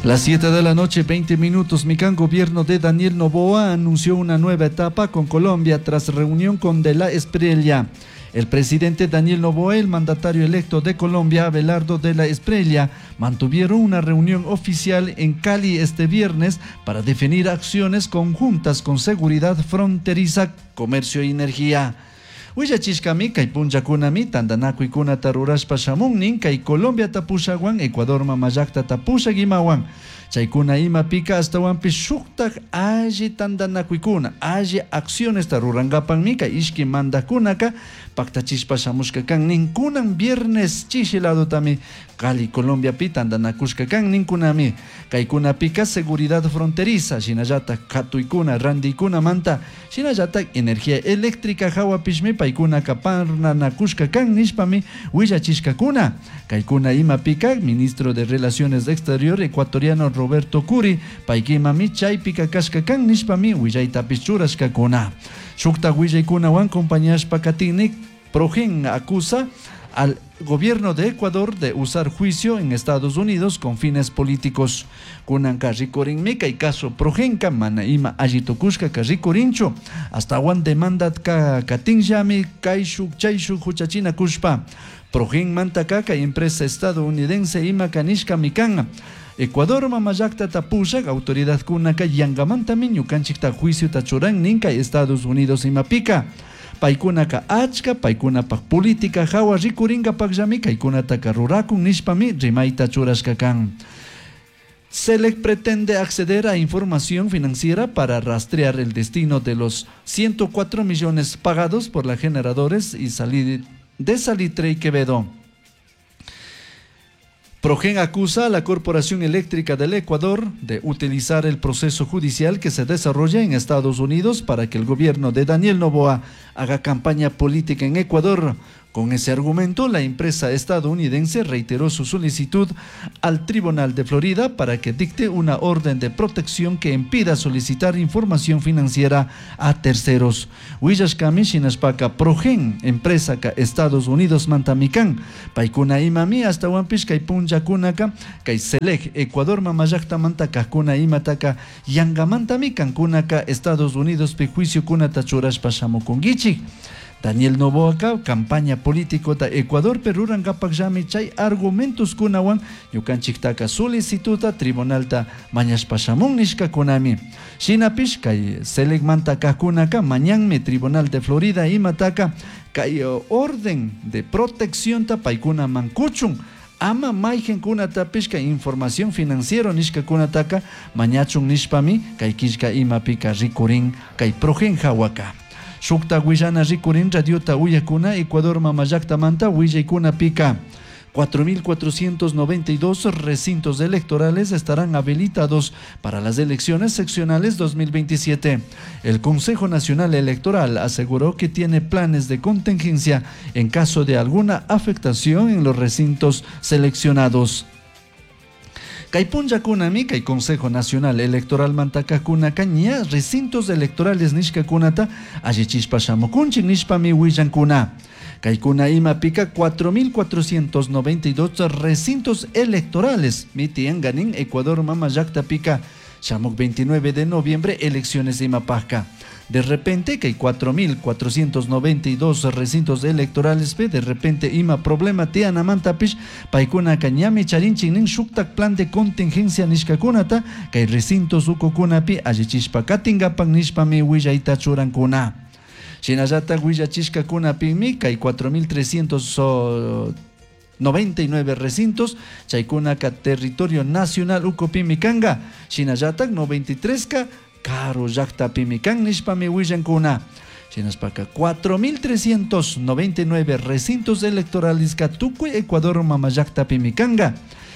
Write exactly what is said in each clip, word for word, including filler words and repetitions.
Las siete de la noche, veinte minutos, Mican, gobierno de Daniel Noboa anunció una nueva etapa con Colombia tras reunión con De la Espriella. El presidente Daniel Noboa y el mandatario electo de Colombia, Abelardo de la Espriella, mantuvieron una reunión oficial en Cali este viernes para definir acciones conjuntas con seguridad fronteriza, comercio y energía. Willachishkami kay punllakunami tantanakuykunata rurashpa shamunnin kay Colombia tapushawan Ecuador mamallakta tapushak imawan. Chaykuna imapika ashtawanpish shuktak alli tantanakuykuna alli accionesta rurankapanmi kay ishki mandakunaka paktachishpa shamushka kan ninkunan viernes chishi ladotami Cali Colombiapi tantanakushka kan ninkunami. Kaykunapika seguridad fronteriza shinallatak katuykuna randiykunamanta shinallatak energía eléctrica hawapishmi paykunaka parnanakushka kan nishpami willachishkakuna. Kaykuna imapika ministro de Relaciones Exterior ecuatoriano Roberto Curi paykimami chaypika kashka kan nishpami willaytapish churashkakuna. Shukta willaykunawan compañashpa katinnik Progen acusa al gobierno de Ecuador de usar juicio en Estados Unidos con fines políticos. Kunanka rikurinmi kay caso Progenka mana ima alli tukushka ka rikurinchu. Hasta wan demanda ka katinllami kayshuk chayshuk huchachina kushpa. Progen mantaka kay empresa estadounidense ima kanishkami kan. Ecuador mamallakta tapushak autoridad kunaka yangamantami ñukanchikta juiciota churan nin kay Estados Unidos imapika. Paykunaka achka, paykunapak política hawa rikurinkapak kaykunataka rurakun nishpami rimayta churashka kan. Celec pretende acceder a información financiera para rastrear el destino de los ciento cuatro millones pagados por las generadores y salir de Salitre y Quevedo. Progen acusa a la Corporación Eléctrica del Ecuador de utilizar el proceso judicial que se desarrolla en Estados Unidos para que el gobierno de Daniel Noboa haga campaña política en Ecuador. Con ese argumento, la empresa estadounidense reiteró su solicitud al Tribunal de Florida para que dicte una orden de protección que impida solicitar información financiera a terceros. Willashkami shinashpaka Progen, empresa ka Estados Unidos mantamikan, paykuna imami hasta kay punllakunaka kay Celec Ecuador mamallakta manta kajkuna imataka yangamantami kankunaka Estados Unidos pi juicio kunata churashpa shamukunkichik. Daniel Noboa campaña político ta Ecuador Perú rankapak chay argumentos kunawan ñukanchiktaka solicituta tribunalta mañashpa shamun nishkakunami. Shinapish kay Celec manta kajkunaka mañanmi Tribunal de Florida imataka kay orden de protección ta paykuna mankuchun. Ama mayqinkunatapish kay información financiero nishkakunataka mañachun nishpami kay killka imapika rikurin kay Progen hawaka. Shukta willana rikurin radiota uyakuna Ecuador mamallaktamanta willaykunapika. cuatro mil cuatrocientos noventa y dos recintos electorales estarán habilitados para las elecciones seccionales dos mil veintisiete. El Consejo Nacional Electoral aseguró que tiene planes de contingencia en caso de alguna afectación en los recintos seleccionados. Kay punllakunami kay Consejo Nacional Electoral mantakakuna ña recintos electorales nishkakunata allichishpa shamukunchik nishpami willankuna. Kaykuna imapika cuatro mil cuatrocientos noventa y dos recintos electorales mitianganin Ecuador mama llaktapika shamuk veintinueve de noviembre elecciones imapajka. De repente que hay cuatro mil cuatrocientos noventa y dos recintos electorales, pe, de repente ima problema tianamantapish paykuna ñami charinchik nin shuktak plan de contingencia nishkakunata kay recintos ukukunapi allichishpa katinkapak nishpami willayta churankuna. Shinallatak willachishkakunapimi kay cuatro mil trescientos noventa y nueve recintos chaykunaka territorio nacional ukupimi kanga. Shinallatak noventa y tres ka karu llaktapimi kan nishpami willankuna. Shinaspaka cuatro mil trescientos noventa y nueve recintos electorales ka tukuy Ecuador mama llaktapimi kanga.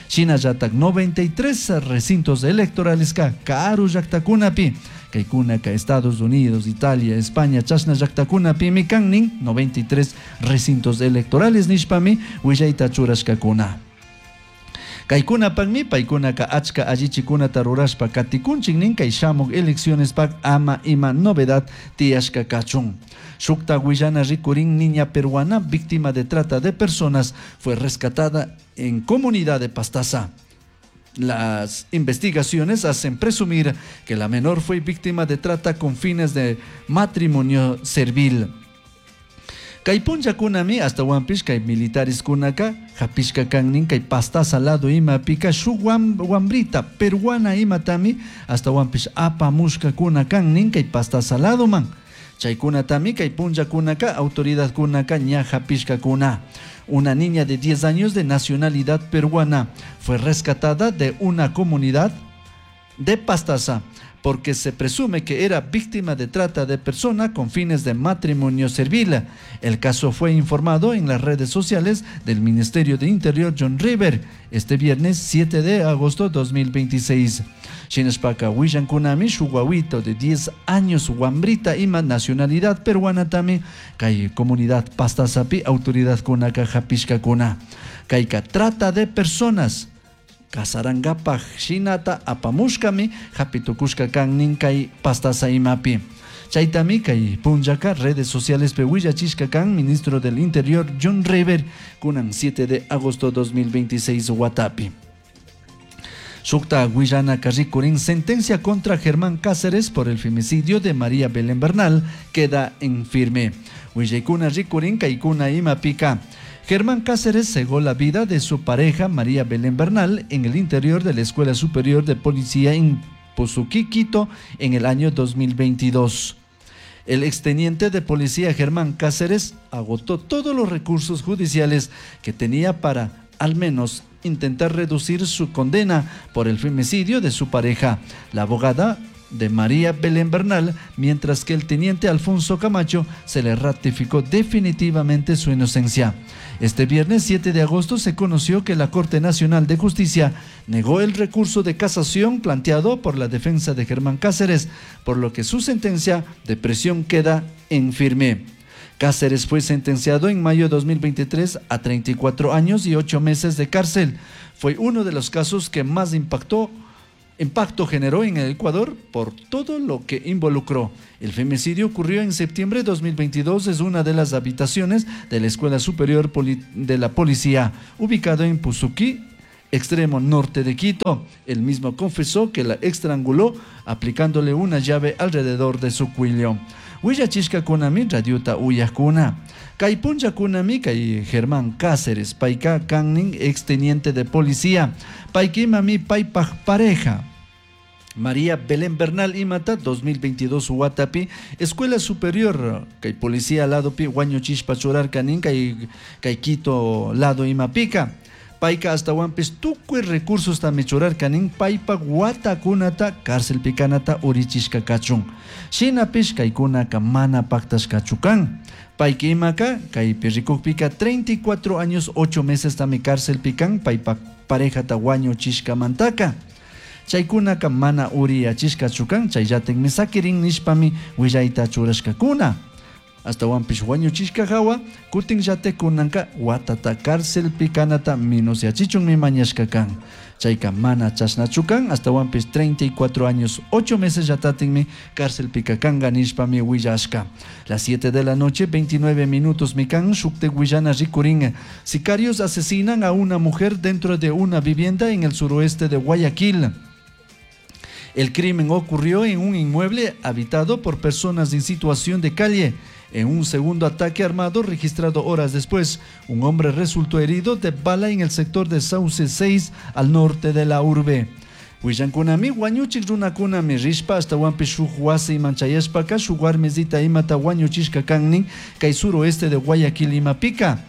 Shinallatak noventa y tres recintos electorales ka karu llaktakunapi. Kaykunaka Estados Unidos, Italia, España, chashna llaktakunapimi kan nin noventa y tres recintos electorales nishpami willayta churashkakuna. Kaykunapakmi paykunaka achka allichikunata rurashpa katikunchik nin kay shamuk elecciones pak ama ima novedad tiyashka kachun. Shukta willana rikurin niña peruana víctima de trata de personas fue rescatada en comunidad de Pastaza. Las investigaciones hacen presumir que la menor fue víctima de trata con fines de matrimonio servil. Kay punllakunami ashtawanpish kay militares kunaka hapishka kannin kay Pastaza lado imapika shuk wambrita peruana imatami ashtawanpish apamushkakuna kannin kay Pastaza ladoman. Chaykunatami kay punllakunaka autoridadkunaka ña hapishkakuna. Una niña de diez años de nacionalidad peruana fue rescatada de una comunidad de Pastaza porque se presume que era víctima de trata de persona con fines de matrimonio servil. El caso fue informado en las redes sociales del Ministerio de Interior John River este viernes siete de agosto dos mil veintiséis. Shinashpaka willankunami shuk wawito de diez años wambrita ima nacionalidad peruana tami kay comunidad Pastazapi autoridad kunaka hapishkakuna. Kayka trata de personas kasarangapaj shinata apamushkami hapitukushka kannin kay Pastaza imapi. Chaytami kay punllaka redes sociales pe willachishka kan ministro del Interior John River kunan siete de agosto dos mil veintiséis watapi. Shukta willana karrikurin sentencia contra Germán Cáceres por el femicidio de María Belén Bernal queda en firme. Willaykuna rikurin kaykuna imapika. Germán Cáceres cegó la vida de su pareja María Belén Bernal en el interior de la Escuela Superior de Policía en Pusuquí, Quito, en el año dos mil veintidós. El exteniente de policía Germán Cáceres agotó todos los recursos judiciales que tenía para, al menos, intentar reducir su condena por el femicidio de su pareja, la abogada de María Belén Bernal, mientras que el teniente Alfonso Camacho se le ratificó definitivamente su inocencia. Este viernes siete de agosto se conoció que la Corte Nacional de Justicia negó el recurso de casación planteado por la defensa de Germán Cáceres, por lo que su sentencia de prisión queda en firme. Cáceres fue sentenciado en mayo de dos mil veintitrés a treinta y cuatro años y ocho meses de cárcel. Fue uno de los casos que más impactó, impacto generó en el Ecuador por todo lo que involucró. El femicidio ocurrió en septiembre de dos mil veintidós en una de las habitaciones de la Escuela Superior Poli-, de la Policía, ubicado en Pusuquí, extremo norte de Quito. Él mismo confesó que la estranguló aplicándole una llave alrededor de su cuello. Willachishka kunami radiota uyakuna. Kay punlla kunami kay Germán Cáceres, payka kannin exteniente de policía. Paykimami paypaj pareja. María Belén Bernal imata dos mil veintidós watapi, Escuela Superior, kay policía lado pi wañuchishpa churarka nin kay, kay Quito lado imapika. Payka hasta wampis tukuy recursos tami churarka nin paypa watakunata cárcel pikanata urichishka kachun. Shinapish kaykunaka mana paktashkachu kan. Payka imaka kaypi rikukpika treinta y cuatro años ocho meses tami cárcel pikan paypa parejata wañuchishkamantaka. Chaykunaka mana uriyachishkachu kan, chayllatikmi sakirin nishpami willayta churashkakuna. Hasta wampish wañuchishka hawa, kutin llatekunanka watata cárcel pikanata minusyachichunmi mañashka kan. Chayka mana chashnachu kan, hasta wampis treinta y cuatro años ocho meses llatatinmi cárcel pikakanga nishpami willashka. Las siete de la noche, veintinueve minutos mikan, shukte willana rikurin. Sicarios asesinan a una mujer dentro de una vivienda en el suroeste de Guayaquil. El crimen ocurrió en un inmueble habitado por personas en situación de calle. En un segundo ataque armado registrado horas después, un hombre resultó herido de bala en el sector de Sauce seis al norte de la urbe. Willankunami, wañuchik runakunami rishpa hasta wampi shuk wasi manchayashpaka shuk warmizita imata wañuchishka kannin kay suroeste de Guayaquil imapika.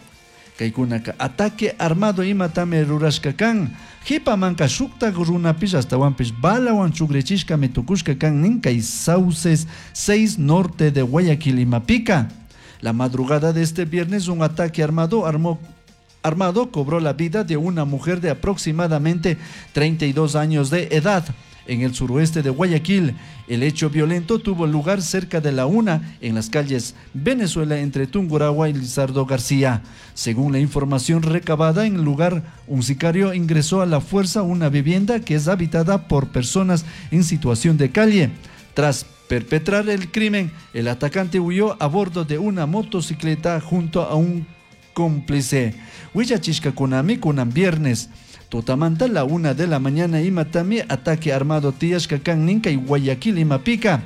Kaykunaka ataque armado imatami rurashka kan. Jipamanka shuktak runapish hasta wampish balawan chugrichishkami tukushka kannin kay Sauces seis norte de Guayaquil imapika. La madrugada de este viernes un ataque armado armó armado cobró la vida de una mujer de aproximadamente treinta y dos años de edad en el suroeste de Guayaquil. El hecho violento tuvo lugar cerca de la una en las calles Venezuela entre Tungurahua y Lizardo García. Según la información recabada en el lugar, un sicario ingresó a la fuerza a una vivienda que es habitada por personas en situación de calle. Tras perpetrar el crimen, el atacante huyó a bordo de una motocicleta junto a un cómplice. Huillachishka kunami kunan viernes. Tutamanta la una de la mañana imatami ataque armado tiyashka kan nin kay Guayaquil imapika.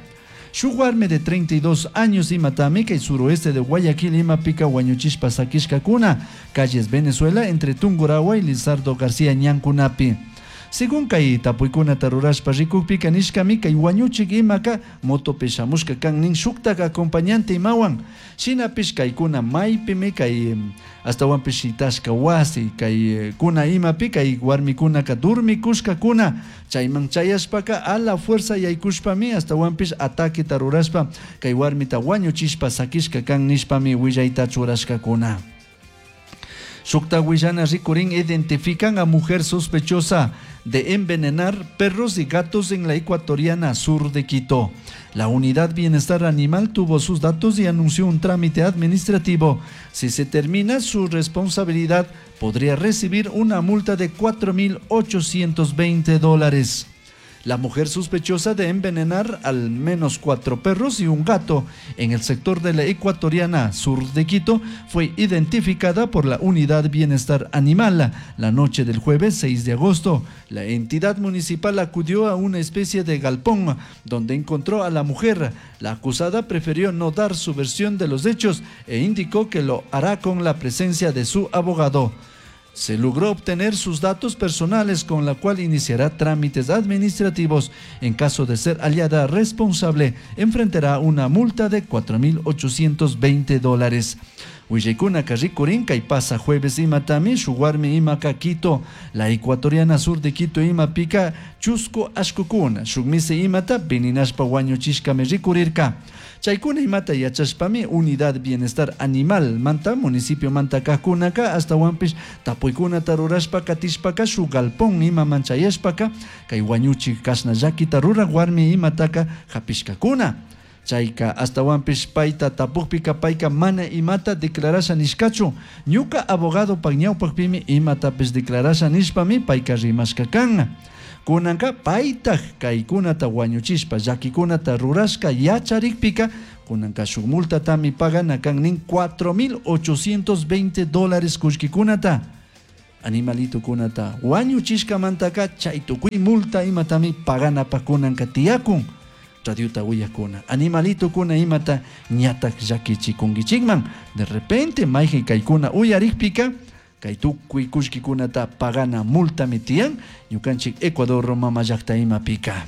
Shuk warmi de treinta y dos años imatami kay suroeste de Guayaquil imapika wañuchishpa sakishkakuna, calles Venezuela entre Tungurahua y Lizardo García ñankunapi. Según kay tapuykunata rurashpa rikukpika nishkami kay wañuchik imaka motopi shamushka kan nin shuktak acompañante imawan. Shinapish kaykuna maypimi kay astawanpish shitashka wasi kay kuna imapi kay warmikunaka durmikushkakuna chayman chayashpaka a la fuerza yaykushpami astawanpish ataqueta rurashpa kay warmita wañuchishpa sakishka kan nishpami willayta churashkakuna. Shukta willana rikurin identifican a mujer sospechosa de envenenar perros y gatos en la ecuatoriana sur de Quito. La unidad Bienestar Animal tuvo sus datos y anunció un trámite administrativo. Si se termina su responsabilidad, podría recibir una multa de cuatro mil ochocientos veinte dólares. La mujer sospechosa de envenenar al menos cuatro perros y un gato en el sector de la ecuatoriana sur de Quito fue identificada por la Unidad Bienestar Animal la noche del jueves seis de agosto. La entidad municipal acudió a una especie de galpón donde encontró a la mujer. La acusada prefirió no dar su versión de los hechos e indicó que lo hará con la presencia de su abogado. Se logró obtener sus datos personales con la cual iniciará trámites administrativos. En caso de ser hallada responsable, enfrentará una multa de cuatro mil ochocientos veinte dólares. Willaykuna rikurin kay pasa jueves imatami shuwarmi imaka Quito, la ecuatoriana sur de Quito imapika chusku ashkukuna shukmisi imata veninashpa wañuchishkami rikurirka. Chaykuna imata yachashpami Unidad Bienestar Animal manta municipio manta kajkunaka astawanpish tapuykunata rurashpa katishpaka shuk galpón imaman chayashpaka kay wañuchik kashna llakita ruraq warmi imataka hapishkakuna. Chayka astawanpish payta tapukpika payka mana imata declarasha nishkachu. Ñuka abogado pak ñawpakpimi imatapish declarasha nishpami payka rimashka kan. Kunanka paytaj kaykunata wañuchishpa llakikunata rurashka yacharikpika kunanka shuk multatami pagana kan nin cuatro mil ochocientos veinte dólares kullkikunata. Animalito kunata wañuchishkamantaka chay tukuy multa imatami paganapa kunanka tiyakun. Radiota uyakuna animalito kuna imata ñatak llakichikunkichikman. De repente mayqin kaykuna uyarikpika kay tukuy kullkikunata pagana multami tiyan ñukanchik Ecuador mama llaqta imapika.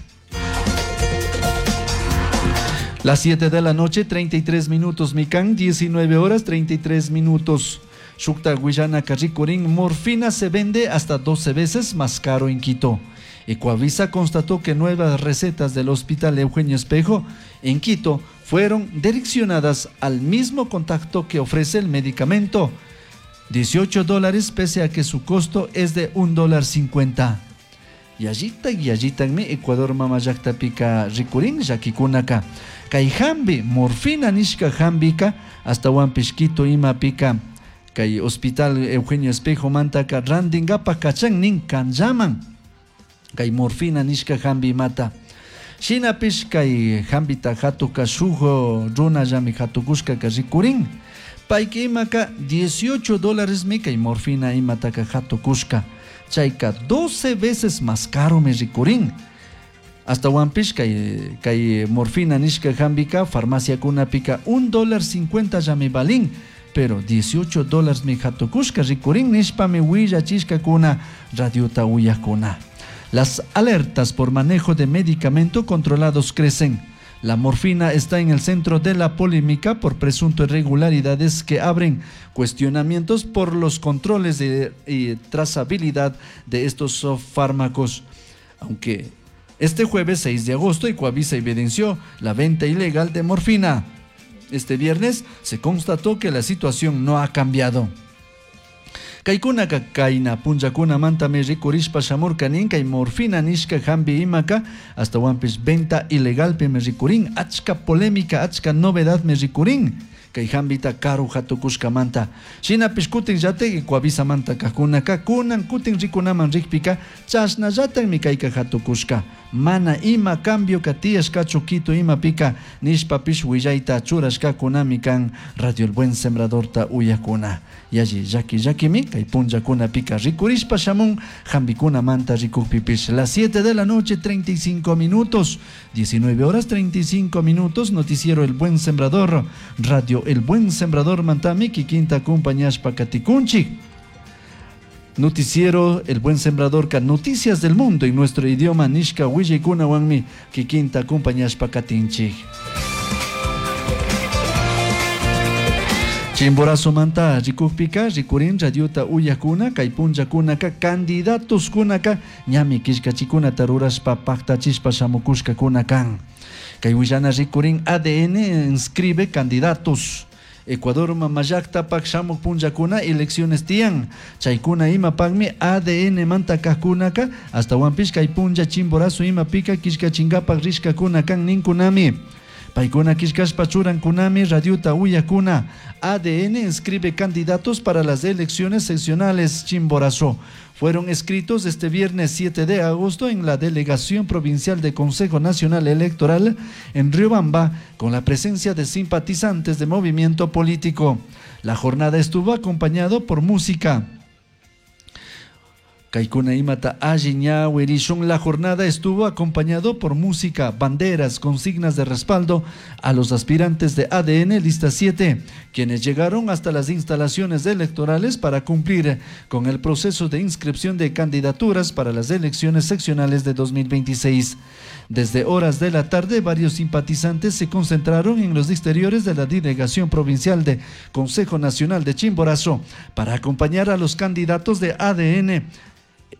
Las siete de la noche, treinta y tres minutos, Mikan, diecinueve horas, treinta y tres minutos. Shukta Guillana Carricurín, morfina se vende hasta doce veces más caro en Quito. Ecuavisa constató que nuevas recetas del Hospital Eugenio Espejo en Quito fueron direccionadas al mismo contacto que ofrece el medicamento, dieciocho dólares, pese a que su costo es de un dólar cincuenta. Yallita, yallita, mi Ecuador mama llaqta pika rikurin llakikunaka. Kay hambi, morfina nishka hambika, hasta wanpish Quito ima pika. Kay Hospital Eugenio Espejo mantaka randingapa kachan nin kanllaman. Kay morfina nishka hambi mata. Shinapish kay hambita hatuka shuk runallami hatukushka ka rikurin. Payki imaka dieciocho dólares mi kay morfina imataka hatukushka. Chayka doce veces más caro mi rikurin. Hasta wanpish kay, kay morfina nishka hambika farmacia kunapika un dólar cincuenta llami balin. Pero dieciocho dólares mi hatukushka rikurin nishpa mi willachishka kuna radiota uyakuna. Las alertas por manejo de medicamento controlados crecen. La morfina está en el centro de la polémica por presunto irregularidades que abren cuestionamientos por los controles de, y trazabilidad de estos fármacos. Aunque este jueves seis de agosto Ecuavisa evidenció la venta ilegal de morfina. Este viernes se constató que la situación no ha cambiado. Kaikunaka kaina punllakuna mantami rikurishpa shamurka nin kay morfina nishka hambi imaka hasta wanpish venta ilegal me rikurin achka polémica achka novedad me rikurin. Kay hambita karu hatukushkamanta. Shinapish kutinllatak Ecuavisamanta kajkunaka kunan kutin rikunaman rikpika chashnallatakmi kayka hatukushka. Mana ima cambio tiyashkachu Quito imapika nishpapish willayta churashkakunami kan Radio El Buen Sembradorta uyakuna. Yalli llaki llakimi kay punllakunapika rikurishpa shamun hambikunamanta rikukpipish. Las siete de la noche treinta y cinco minutos, diecinueve horas treinta y cinco minutos, noticiero El Buen Sembrador, Radio El Buen Sembrador mantami kikinta acompañashpa katikunchik. Noticiero El Buen Sembrador ka noticias del mundo en nuestro idioma nishka willaykunawanmi kikinta acompañashpa katinchik. Chimborazo manta rikukpika rikurin radiota uyakuna kay punllakunaka candidatos kunaka ñami killkachikunata rurashpa paktachishpa shamukushkakuna kan. Kay willana rikurin A D N inscribe candidatos. Ecuador mamallaktapak shamuk punllakuna elecciones tiyan. Chaykuna imapakmi A D N manta kajkunaka astawanpish kay punlla Chimborazo imapika killkachinkapak rishkakuna kan ninkunami. Paykuna killkashpa churankunami radiota uyakuna. A D N inscribe candidatos para las elecciones seccionales Chimborazo. Fueron escritos este viernes siete de agosto en la Delegación Provincial de Consejo Nacional Electoral en Riobamba, con la presencia de simpatizantes de movimiento político. La jornada estuvo acompañado por música. Kaikuna imata alli ñawirishun. La jornada estuvo acompañado por música, banderas, consignas de respaldo a los aspirantes de A D N Lista siete, quienes llegaron hasta las instalaciones electorales para cumplir con el proceso de inscripción de candidaturas para las elecciones seccionales de dos mil veintiséis. Desde horas de la tarde, varios simpatizantes se concentraron en los exteriores de la Delegación Provincial de Consejo Nacional de Chimborazo para acompañar a los candidatos de A D N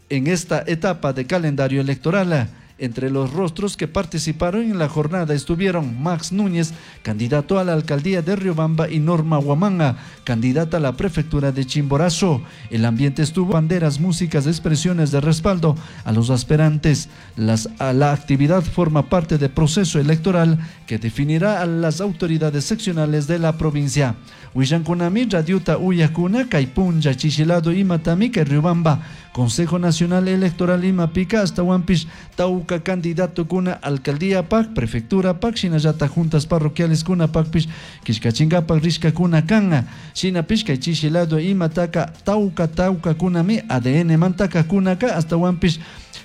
en esta etapa de calendario electoral. Entre los rostros que participaron en la jornada estuvieron Max Núñez, candidato a la alcaldía de Riobamba, y Norma Huamanga, candidata a la prefectura de Chimborazo. El ambiente estuvo banderas, músicas, expresiones de respaldo a los aspirantes. Las, a la actividad forma parte del proceso electoral que definirá a las autoridades seccionales de la provincia. Willankunami, Radiuta Uyakuna, Kaypunlla, Chichilado, Imatami, Riobamba, Consejo Nacional Electoral Imapica, hasta Huampish, Tauca, candidato kuna, alcaldía P A C, prefectura P A C, shinallata juntas parroquiales kuna Pacpish, Quishcachingapac, Rishka kuna kanga, Shinapish, Chichilado, Imataka, Tauca, Tauca kunami, A D N mantaka kunaka, hasta Huampish,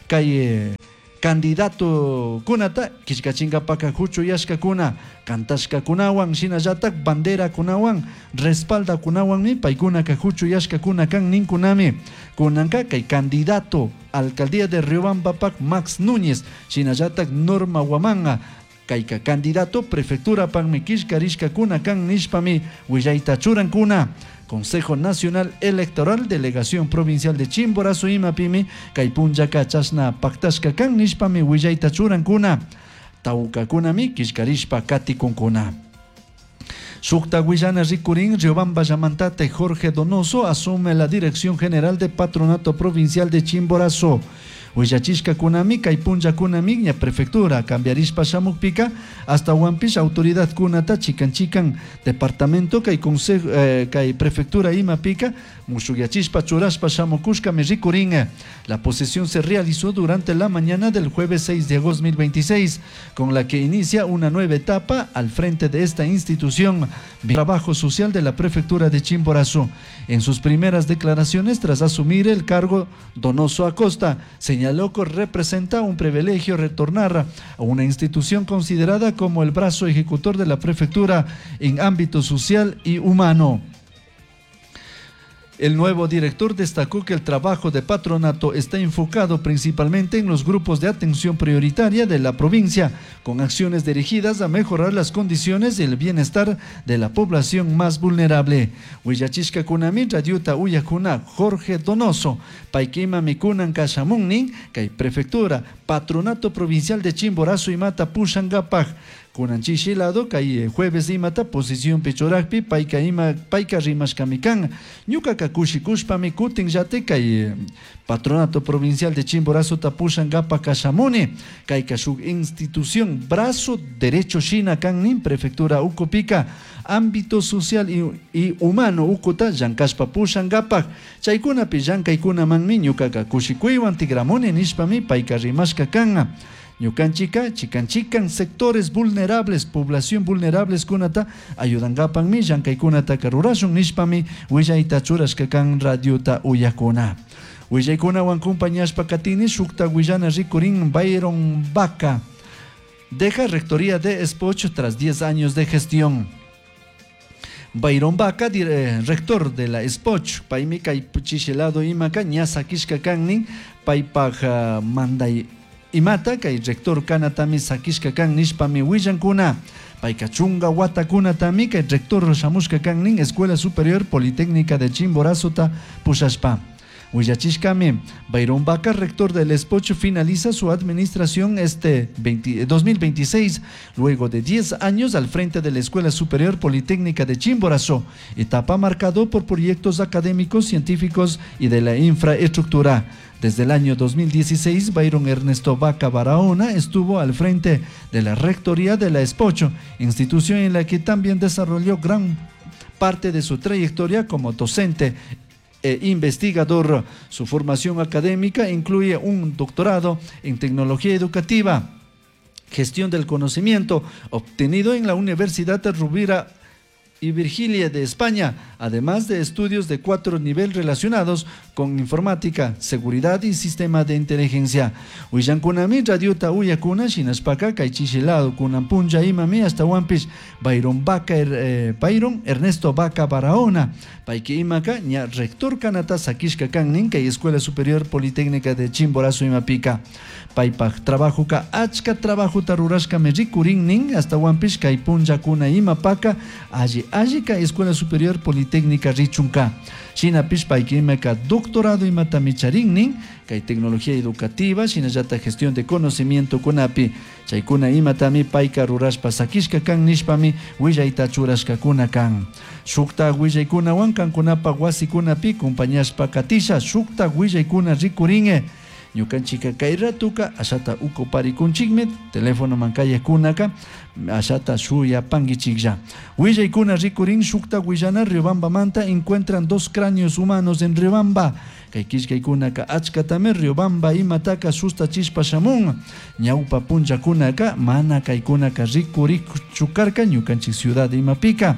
kay candidato kunata, Quishcachingapaka huchu yashka kuna, kantashka kunawan, shinallatak bandera kunawan, respalda kunawanmi, paykunaka huchu yashka kuna kan ninkunami. Kunanka kay candidato alcaldía de Riobamba Pac Max Núñez, shinallatak Norma Huamanga, kayka candidato prefectura panmi kishkarishka kuna kan nishpami willayta churankuna. Consejo Nacional Electoral, Delegación Provincial de Chimborazo imapimi, kaypunllaka chashna paktashka kan nishpami willayta churankuna. Tawkakunami kishkarishpa katikunkuna. Sukta Guillana Ricurín, Riobamba Yamantate, Jorge Donoso asume la Dirección General de Patronato Provincial de Chimborazo. Huillachishka kunami, kaypunlla kunami, ña prefectura, cambiarishpa shamukpika, hasta Huampish, autoridad kunata, chican chican, departamento, kay consejo, eh, kay prefectura imapika, mushuyachishpa churashpa shamukushka mi ricurín. La posesión se realizó durante la mañana del jueves seis de agosto dos mil veintiséis, con la que inicia una nueva etapa al frente de esta institución, Trabajo Social de la Prefectura de Chimborazo. En sus primeras declaraciones tras asumir el cargo, Donoso Acosta señaló que representa un privilegio retornar a una institución considerada como el brazo ejecutor de la prefectura en ámbito social y humano. El nuevo director destacó que el trabajo de patronato está enfocado principalmente en los grupos de atención prioritaria de la provincia, con acciones dirigidas a mejorar las condiciones y el bienestar de la población más vulnerable. Huillachishka kunami, Radiuta Uyakuna, Jorge Donoso, Paikima Mikunan Kashamunnin, Kay Prefectura, Patronato Provincial de Chimborazo y Mata Pushangapak, Kunan chishi lado kay jueves imata posicionpi churakpi payka ima payka rimashkami kan. Ñukaka kushikushpami kutin llate kay Patronato Provincial de Chimborazo pushankapa kashamuni. Kayka shuk institución brazo derecho shina kan nin prefectura ukupika ámbito social y, y humano ukuta llankashpa pushankapak. Chaykunapi llankaykunamanmi ñukaka kushikuywan tigramuni nishpami payka rimashka kan. Ñukanchika, chikan chikan sectores vulnerables, población vulnerables kunata ayudankapanmi llankaykunataka rurashun nishpami willayta churashka kan radiota uyakuna. Willaykunawan compañashpa katini shukta willana rikurin Byron Vaca. Deja rectoría de Espoch tras diez años de gestión. Byron Vaca, eh, rector de la Espoch, paymi kay chishelado imaka ña sakishka kannin paypaj uh, manday imata kay rector kanatami sakishka kan nishpami willankuna. Payka chunga watakunatami kay rector shamushka kannin Escuela Superior Politécnica de Chimborazota pushashpa. Willachishkami, Byron Vaca, rector del Espoch, finaliza su administración este dos mil veintiséis, luego de diez años al frente de la Escuela Superior Politécnica de Chimborazo, etapa marcado por proyectos académicos, científicos y de la infraestructura. Desde el año dos mil dieciséis, Byron Ernesto Vaca Barahona estuvo al frente de la rectoría de la Espocho, institución en la que también desarrolló gran parte de su trayectoria como docente e investigador. Su formación académica incluye un doctorado en tecnología educativa, gestión del conocimiento, obtenido en la Universidad de Rovira y Virgilia de España, además de estudios de cuatro niveles relacionados con informática, seguridad y sistema de inteligencia. Willankunami radiota uyakuna shinashpaka kay chishilado kunan punlla imami hasta wampis Byron Vaca, eh, Byron Ernesto Vaca Barahona, payki imaka ña rector kanata sakishka kannin kay Escuela Superior Politécnica de Chimborazo imapika. Paypaj trabajuka achka trabajuta rurashkami rikurinnin hasta wampis kay punllakuna imapaka alli allika Escuela Superior Politécnica richunka. Shinapish payki imaka doctorado imatami charinnin kay tecnología educativa shinallata gestión de conocimiento kunapi chaykuna imatami payka rurashpa sakishka kan nishpami willayta churashkakuna kan. Shukta willaykunawan kankunapa wasikunapi compañashpa katisha shukta willaykuna rikuringe. Ñukanchika kay ratuka ashata ukuparikunchikmi teléfono mankayakunaka ashata shuyapankichiklla. Willaykuna rikurin shukta willana Riobambamanta encuentran dos cráneos humanos en Riobamba. Kay killkaykunaka achkatami Riobamba imataka sustachishpa shamun. Ñawpa punllakunaka mana kaykunaka rikurichukarka ñukanchik ciudad imapika.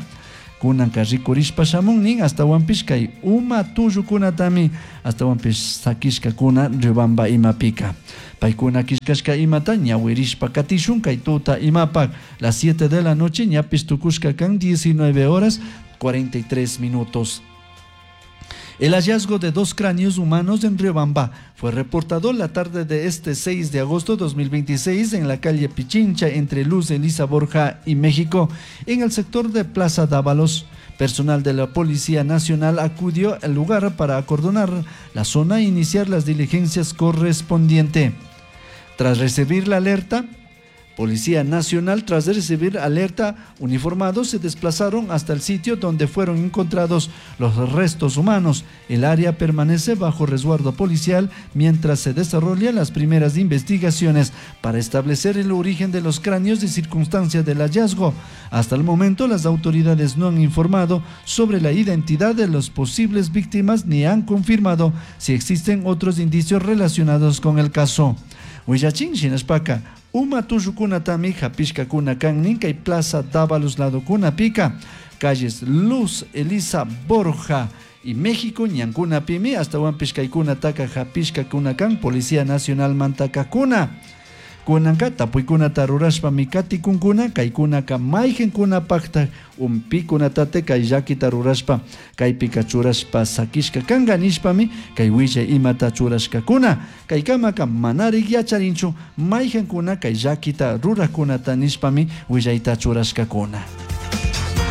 Kunanka rikurishpa shamun hasta wampish kay uma tullukunatami hasta wampish sakishkakuna Riobamba imapika. Paykuna killkashka imata ñawirishpa katishun kay tuta imapak las siete de la noche ñapis tukushka kan diecinueve horas cuarenta y tres minutos. El hallazgo de dos cráneos humanos en Riobamba fue reportado la tarde de este seis de agosto de dos mil veintiséis en la calle Pichincha entre Luz Elisa Borja y México, en el sector de Plaza Dávalos. Personal de la Policía Nacional acudió al lugar para acordonar la zona e iniciar las diligencias correspondientes. Tras recibir la alerta, Policía Nacional, tras recibir alerta, uniformados se desplazaron hasta el sitio donde fueron encontrados los restos humanos. El área permanece bajo resguardo policial mientras se desarrollan las primeras investigaciones para establecer el origen de los cráneos y circunstancias del hallazgo. Hasta el momento, las autoridades no han informado sobre la identidad de las posibles víctimas ni han confirmado si existen otros indicios relacionados con el caso. Huillachin shinashpaka uma tullukunatami hapishkakuna kan kay Plaza Dávalos ladokuna pika, calles Luz Elisa Borja y México ñankunapimi hasta wampis kaykunataka hapishkakuna kan Policía Nacional mantakakuna. Kunanka tapuykunata rurashpami katikunkuna kaykunaka mayqinkunapaqta umpikunatata kay llakita rurashpa kaypika churashpa sakishka kanka nishpami kay willay imata churashkakuna kaykamaka manarik yacharinchu mayqinkuna kay llakita rurakunata nishpami willayta churashkakuna.